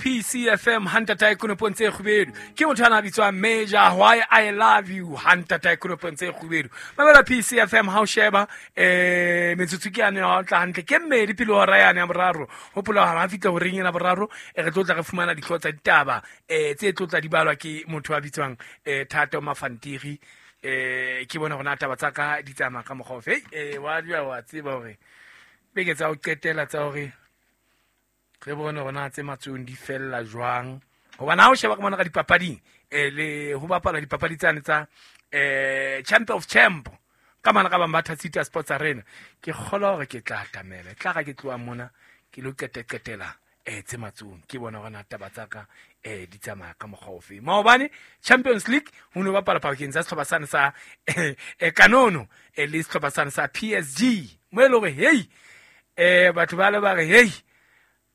PCFM hantatae konopong tse kgubedu. Ke motho ana a bitswang Major Why I Love You hantatae konopong tse kgubedu. Mamela PCFM ha o sheba metsotso ke yane ya tla hantle ke mmedi pele hora yane ya boraro. Hopola hore ha fihla horeng ena boraro re tlo tla re fumana dihlooho tsa ditaba tse tlo tla di balwa ke motho a bitswang Thato Mafantiri. Ke bone hore na taba tsa ka di tsamaya ka mokgwa ofe. Wa dula wa tseba hore beke tsa ho qetela tsa hore re bone hore na tse matsong di fella jwang. Hobane ha o sheba ka mona ka dipapading le ho bapala dipapadi tsane tsa Champ of Champ ka mana ka Bambatha City Sports Arena, ke kgolwa hore ke tla atamela. E tla ra ke tloha mona ke lo qeteqetela tse matsong, ke bona hore na taba tsa ka di tsamaya ka mokgwa ofe. Maobane Champions League ho no bapala pakeng tsa sehlopha sane sa Kanono le sehlopha sane sa PSG, mo e le hore hey batho ba le ba re hey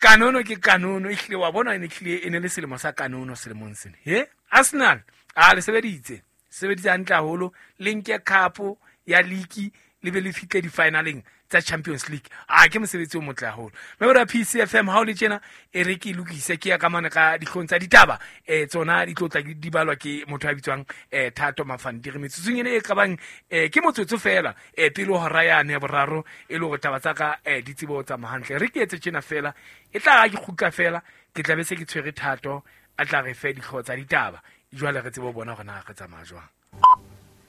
Kanono ke Kanono, ehlile wa bona e ne hlile e ne le selemo sa Kanono selemong sena. He Arsenal a le sebeditse sebeditse hantle haholo, le nke cup ya league le be le fihle di-finaleng tsa Champions League. A ke mosebetsi o motle haholo. Mme ra PCFM ha o le tjena e re ke lokise ke ya ka mane ka dihlong tsa ditaba tsona di tlo tla di balwa ke motho a bitswang Thato Mafantiri. Metsotsong ena e kabang ke motsotso fela pele hora yane ya boraro e le hore taba tsa ka di tsebe ho tsamaya hantle. Re ke etse tjena fela e tla ra ke kgutla fela ke tla be se ke tshwere Thato a tla re fe dihlooho tsa ditaba. Jwale re tsebe ho bona hore na re tsamaya jwang.